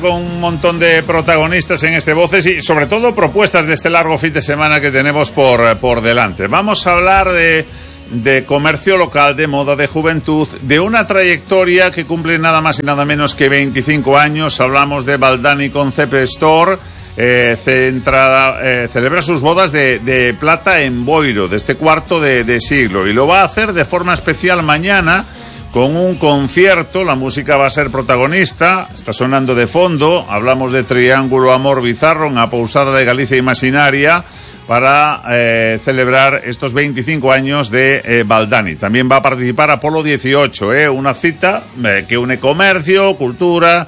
Con un montón de protagonistas en este Voces y sobre todo propuestas de este largo fin de semana que tenemos por delante. Vamos a hablar de comercio local, de moda, de juventud, de una trayectoria que cumple nada más y nada menos que 25 años. Hablamos de Baldani Concept Store, celebra sus bodas de plata en Boiro, de este cuarto de siglo, y lo va a hacer de forma especial mañana con un concierto. La música va a ser protagonista, está sonando de fondo. Hablamos de Triángulo Amor Bizarro, una pousada de Galicia Imaginaria, para celebrar estos 25 años de Baldani. También va a participar Apolo 18, una cita que une comercio, cultura,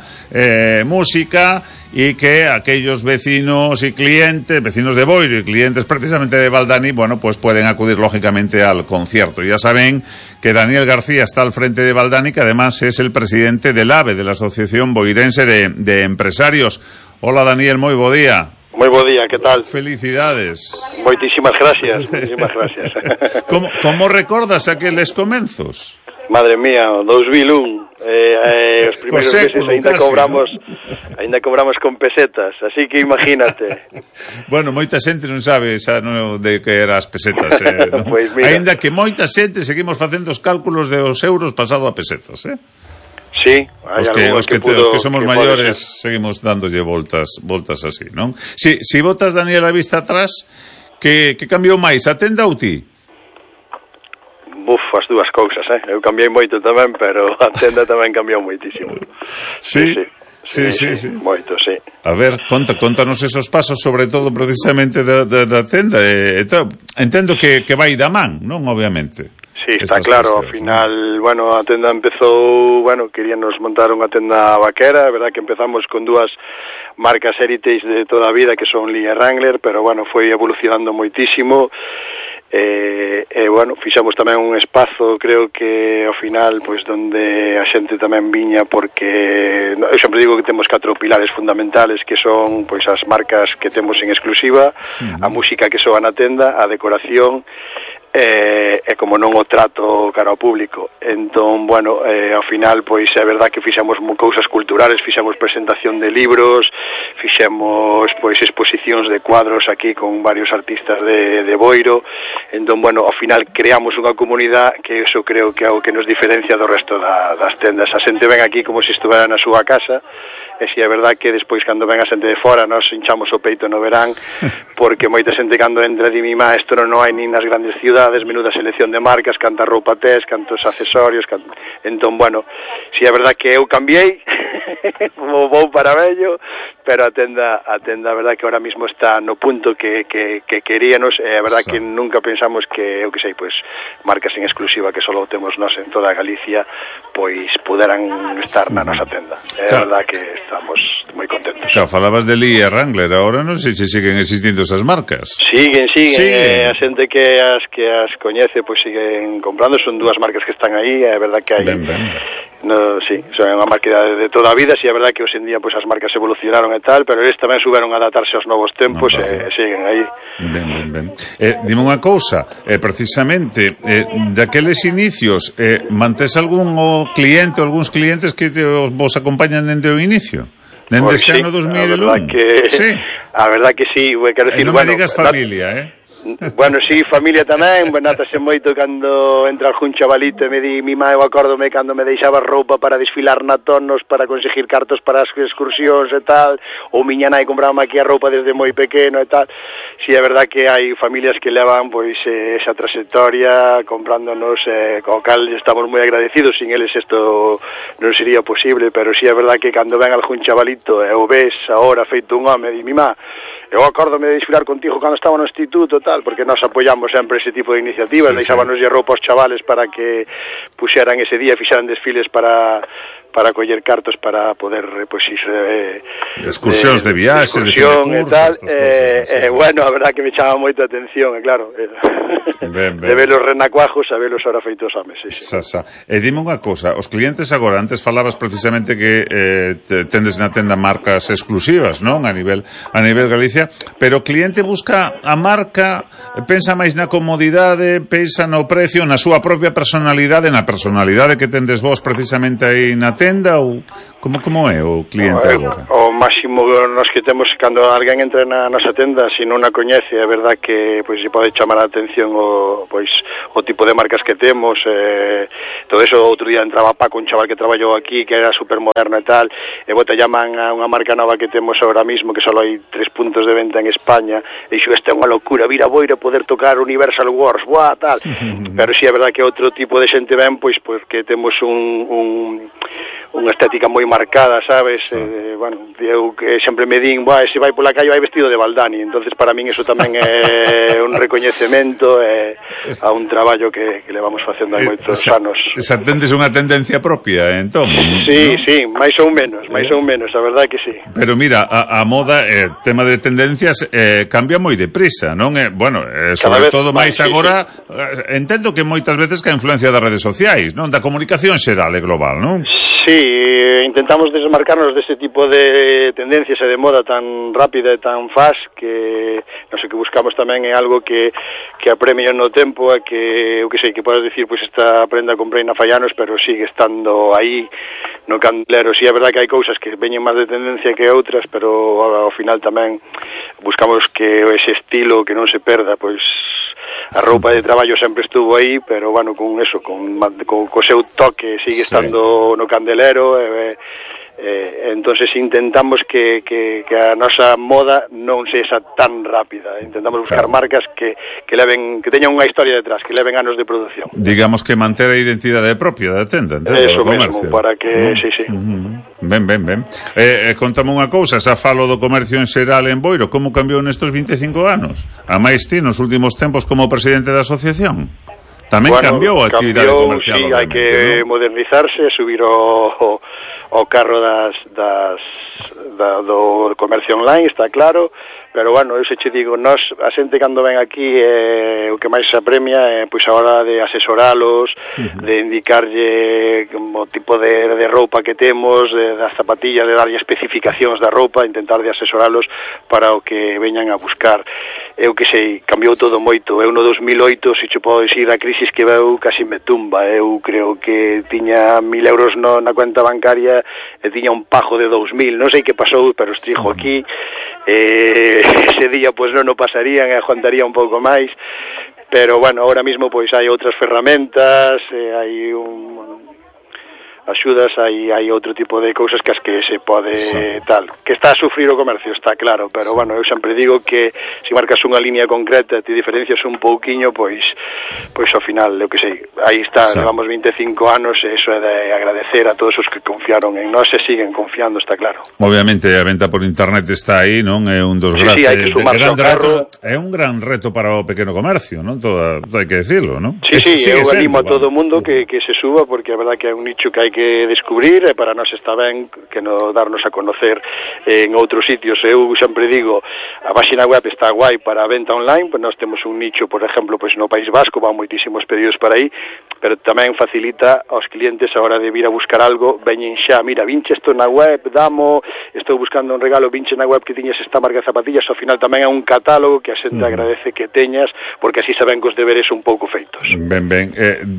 música, y que aquellos vecinos y clientes, vecinos de Boiro y clientes precisamente de Baldani, bueno, pues pueden acudir lógicamente al concierto. Ya saben que Daniel García está al frente de Baldani, que además es el presidente del AVE, de la Asociación Boirense de Empresarios. Hola Daniel, moi bo día. Moi bo día, que tal? Felicidades. Moitísimas gracias, moitísimas gracias. Como recordas aqueles comenzos? Madre mía, 2001, os primeiros meses ainda cobramos con pesetas, así que imagínate. Bueno, moita xente non sabe xa de que eran as pesetas, ¿no? Pues mira. Ainda que moita xente seguimos facendo os cálculos de os euros pasado a pesetas, Sí, hai os que somos maiores seguimos dándolle voltas así, non? Si botas, Daniel, a vista atrás, que cambiou máis, a tenda ou ti? As dúas cousas, Eu cambiei moito tamén, pero a tenda tamén cambiou moitísimo. Sí. Moito, sí. A ver, contanos esos pasos, sobre todo precisamente da tenda. Entendo que vai da man, non? Obviamente. Sí, está claro, ao final, a tenda empezou, queríanos montar unha tenda vaquera, é verdad que empezamos con dúas marcas heritage de toda a vida, que son Lee e Wrangler, pero foi evolucionando moitísimo. Fixamos tamén un espazo, creo que ao final, donde a xente tamén viña, porque eu sempre digo que temos 4 pilares fundamentales, que son as marcas que temos en exclusiva, a música que soa na tenda, a decoración e como non o trato cara ao público. Entón, ao final, é verdad que fixamos cousas culturales, fixamos presentación de libros, fixemos exposicións de cuadros aquí con varios artistas de Boiro. Entón, ao final creamos unha comunidade que eso creo que é o que nos diferencia do resto das tendas. A xente ven aquí como se estuvera na súa casa, e si é verdad que despois cando ven a xente de fora nos hinchamos o peito no verán, porque moita xente cando entra di mimá, isto non hai nin nas grandes ciudades, menuda selección de marcas, canta roupa tes, cantos accesorios, entón, si é verdad que eu cambiei, vou para vello, pero a tenda, a verdad que ahora mismo está no punto que queríanos, é verdad que nunca pensamos que, marcas en exclusiva que só temos nós en toda Galicia, puderan estar na nosa tenda. É verdad que estamos moi contentos. Claro, falabas de Lee e Wrangler, agora non sei se siguen existindo esas marcas. Siguen. A xente que as coñece, siguen comprando, son dúas marcas que están aí, é verdad que hai... Ben. Sí, son unha marca de toda a vida, si é verdad que hoxe en día as marcas evolucionaron e tal, pero eles tamén souberon adaptarse aos novos tempos e siguen aí. Ben. Dime unha cousa, precisamente, daqueles inicios, mantés algún cliente ou algúns clientes que vos acompañan dende o inicio? Dende ese ano 2001? A verdad que sí, quero dicir, non me digas familia, sí, familia tamén, nátase moito cando entra algún chavalito e me di, mi má, eu acórdome cando me deixaba roupa para desfilar na Tonos, para conseguir cartos para as excursións e tal, ou miña nai compraba aquí a roupa desde moi pequeno e tal. Si é verdad que hai familias que levan esa trayectoria comprándonos, co cal estamos moi agradecidos, sin eles isto non sería posible, pero si é verdad que cando ven algún chavalito e o ves agora feito un home, di, mi má, eu acórdome de desfilar contigo cando estaba no instituto tal, porque nós apoiamos sempre ese tipo de iniciativas, deixábanos roupa aos chavales para que puxeran ese día, fixeran desfiles para coller cartos para poder ir excursións de viaxes, de e tal, a verdad que me chama moito a atención, claro, de velos renacuajos a velos ahora feitos homes. E dime unha cousa, os clientes agora, antes falabas precisamente que tendes na tenda marcas exclusivas, non? A nivel Galicia, pero o cliente busca a marca, pensa máis na comodidade, pensa no precio, na súa propia personalidade, na personalidade que tendes vos precisamente aí na tenda ou como é o cliente agora? O máximo nos que temos cando alguén entra na nosa tenda, se non a coñece, é verdad que pois se pode chamar a atención o tipo de marcas que temos, todo eso. Outro día entraba Paco, un chaval que traballou aquí, que era super moderno e tal, e te llaman a unha marca nova que temos ahora mismo, que só hai 3 puntos de venta en España, e dixo, esta é unha locura, vir a Boiro poder tocar Universal Wars, buah, tal. Pero si é verdad que outro tipo de xente ven, pois que temos unha estética moi marcada, sabes? Bueno, eu que sempre me din, se vai pola calle vai vestido de Baldani, entonces para min eso tamén é un recoñecemento a un traballo que levamos facendo hai moitos anos. Esa tendes unha tendencia propia, entón? Sí, ¿no? Sí, máis ou menos, a verdade que sí. Pero mira, a moda, tema de tendencias, cambia moi deprisa, non? Bueno, sobre todo máis agora, entendo que moitas veces que a influencia das redes sociais, non? Da comunicación xeral e global, non? Sí, intentamos desmarcarnos deste tipo de tendencias e de moda tan rápida e tan fast que non sei, que buscamos tamén é algo que apremie no tempo e que, eu que sei, que podes dicir, pois esta prenda comprei na Fallanos, pero sigue estando aí no candelero. Si é verdad que hai cousas que veñen máis de tendencia que outras, pero ao final tamén buscamos que ese estilo que non se perda, pois a roupa de traballo sempre estuvo aí, pero bueno, con eso, co seu toque sigue estando no candelero, entonces intentamos que a nosa moda non sexa tan rápida. Intentamos buscar marcas que teñan unha historia detrás, que leven anos de produción. Digamos que manter a identidade propia da tenda, eso mesmo, para que, sí. Ben. Contame unha cousa, xa falo do comercio en xeral en Boiro, como cambiou nestos 25 anos? A máis ti nos últimos tempos como presidente da asociación? Tamén cambiou a actividade comercial. Sí, hai que modernizarse, subir o carro do comercio online, está claro, pero bueno, eu se che digo, a xente cando ven aquí o que máis se apremia é pois a hora de asesoralos, de indicarlle o tipo de roupa que temos, das zapatillas, de darlle especificacións da roupa, intentar de asesoralos para o que veñan a buscar. Eu que sei, cambiou todo moito. Eu no 2008, se che podo dicir, a crisis que veu casi me tumba. Eu creo que tiña 1.000 euros na cuenta bancaria e tiña un pajo de 2.000. Non sei que pasou, pero estrijo aquí. Ese día pois non o pasarían e aguantaría un pouco máis. Pero bueno, ahora mismo pois hai outras ferramentas, hai axudas, hai outro tipo de cousas que as que se pode tal, que está a sufrir o comercio, está claro, pero bueno, eu sempre digo que se marcas unha línea concreta e te diferencias un pouquiño, pois ao final, eu que sei, aí está, levamos 25 anos e eso é de agradecer a todos os que confiaron en nós e siguen confiando, está claro. Obviamente a venta por internet está aí, non? É un dos grandes hai que sumarse ao carro. É un gran reto para o pequeno comercio, non? Todo hai que decirlo, non? Sí, eu animo a todo o mundo que se suba, porque a verdad que é un nicho que hai que descubrir e para nós está ben que nos darnos a conocer en outros sitios. Eu sempre digo, a página web está guai para a venta online, pues nós temos un nicho, por exemplo, pues no País Vasco, van moitísimos pedidos para aí, pero tamén facilita aos clientes a hora de vir a buscar algo, veñen xa, mira, vinche isto na web, estou buscando un regalo, vinche na web que tiñes esta marca de zapatillas, ao final tamén é un catálogo que a xente agradece que teñas, porque así saben que os deberes un pouco feitos. Ben,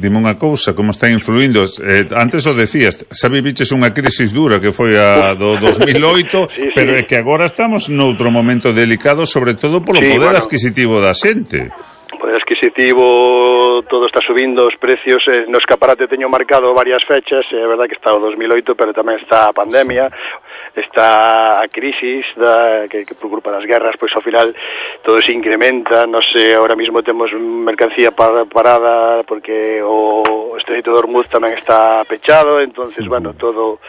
dime unha cousa, como está influindo, antes o decías, xa viviches unha crisis dura que foi a do 2008, sí. Pero é que agora estamos noutro momento delicado, sobre todo polo poder adquisitivo da xente. Poder adquisitivo, todo está subindo os precios, no escaparate teño marcado varias fechas, é verdad que está o 2008, pero tamén está a pandemia, está a crisis que por culpa das guerras, pois ao final todo se incrementa, non sei, ahora mismo temos mercancía parada porque o Estreito de Hormuz tamén está pechado, entonces, bueno, todo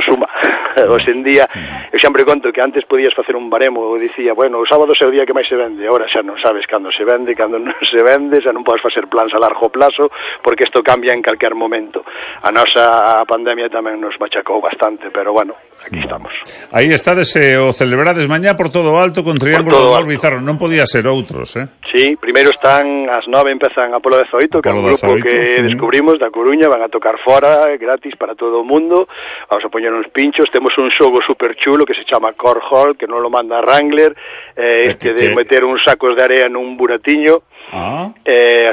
suma. Hoxe en día, eu sempre conto que antes podías facer un baremo, eu dicía, bueno, o sábado é o día que máis se vende, ahora xa non sabes cando se vende, cando non se vende, xa non podes facer plans a largo plazo, porque isto cambia en calquer momento. A nosa pandemia tamén nos machacou bastante, pero bueno, aquí estamos. Aí estades o celebrades mañá por todo o alto con Triángulo do Mar Bizarro, non podía ser outros, Sí, primeiro están ás 9, empezan Apolo 18, que é un grupo que descubrimos da Coruña, van a tocar fora, gratis para todo o mundo, vamos a poñer uns pinchos, temos un xogo super chulo que se chama Core Hall, que non lo manda Wrangler, de meter uns sacos de area nun buratiño, A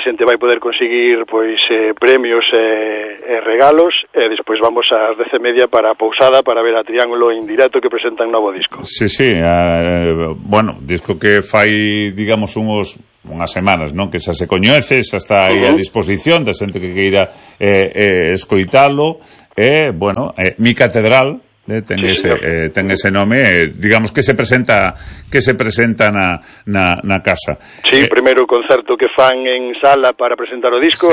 xente vai poder conseguir pois premios e regalos, e despois vamos ás 10:30 para a pousada para ver a Triángulo en directo, que presentan novo disco. Sí, bueno, disco que fai, digamos, unhas semanas, non? Que xa se coñece, xa está aí a disposición da xente que queira escoitalo, bueno, Mi Catedral, ten ese nome, digamos que se presenta na casa. Sí, primeiro concerto que fan en sala para presentar o disco,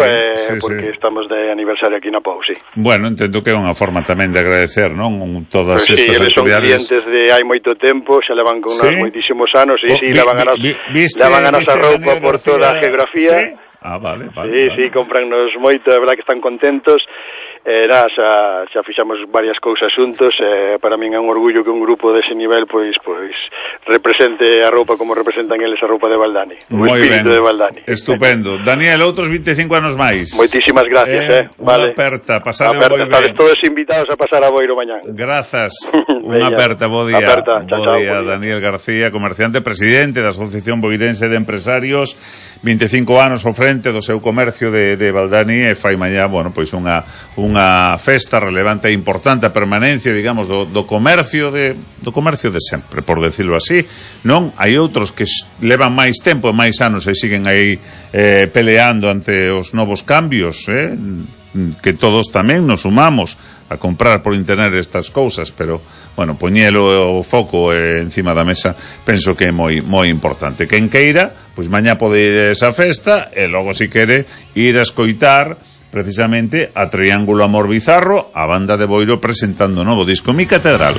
porque estamos de aniversario aquí na Pou, sí. Bueno, entendo que é unha forma tamén de agradecer, non? Todas estas actividades. Son clientes de hai moito tempo, xa levan con nós moitísimos anos, levan a nosa roupa por toda a geografía. Vale. Sí, comprannos moito, é verdad que están contentos. Xa fixamos varias cousas xuntos, para min é un orgullo que un grupo dese nivel pois represente a roupa como representan eles a roupa de Valdani, o espírito de Valdani. Estupendo. Daniel, outros 25 anos máis. Moitísimas gracias, vale. Unha aperta, pasade moi ben. Estades todos invitados a pasar a Boiro mañán. Grazas. Unha aperta, bo día. Bo día, Daniel García, comerciante, presidente da Asociación Boirense de Empresarios, 25 anos ao frente do seu comercio de Valdani, e fai mañá, bueno, pois unha festa relevante e importante, a permanencia, digamos, do comercio de sempre, por decirlo así. Non, hai outros que levan máis tempo e máis anos e siguen aí peleando ante os novos cambios, que todos tamén nos sumamos a comprar por internet estas cousas, pero, bueno, poñelo o foco encima da mesa, penso que é moi importante. Quen queira, pois mañá pode ir a esa festa, e logo, si quere, ir a escoitar precisamente a Triángulo Amor Bizarro, a banda de Boiro presentando o novo disco Mi Catedral.